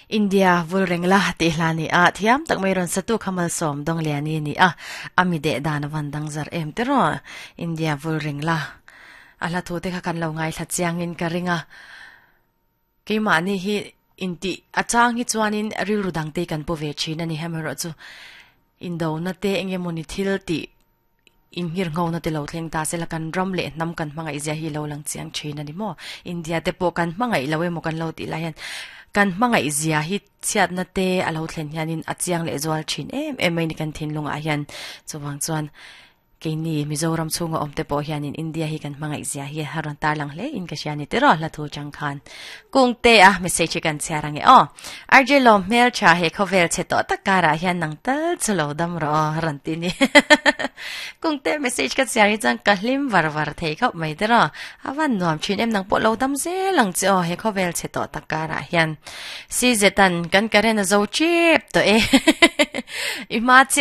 India vul reng la tih hla ni a, thiam tak mai rawn satu kha malsawm Dawngliani ni a, a mi deh dan a van dang zar em te rawh. India vul reng la. A hla thu te kha kan lo ngaithla chiangin ka ring a. Keimahni hi intih a chang hi chuanin rilru dangte kan pu ve thin a ni. Hamaherawhchu indona te engemawni thil tih Inngirngona te lo thleng ta sela kan ram leh hnam kan hmangaih zia hi lo lang chiang thin a ni maw? India te pawh kan hmangaih lo emaw kan lo tih lai hian kan hmangaih zia hi chhiatna te a lo thlen hianin a chiang leh zual thin em em mai ni kan thinlungah hian. Chuvang chuan keini Mizoram chhunga awm te pawh hianin India hi kan hmangaih zia hi a rawn tarlang hle in ka hria ni tiraw hla thu chang khan. Kungte a message hi kan chhiar ange aw. RJ lawm hmel tha he khawvel chhe tawh tak karah hian nang tal chu lo dam rawh aw rawn ti ni. Kungte message ka chhiar hi chuan ka hlim var var thei khawp mai te rawh. A van nuam thin em nang pawh lo dam zel ang che aw he khawvel chhe tawh tak karah hian. CZ an kan current a zo chep tawh e. I hma chiah.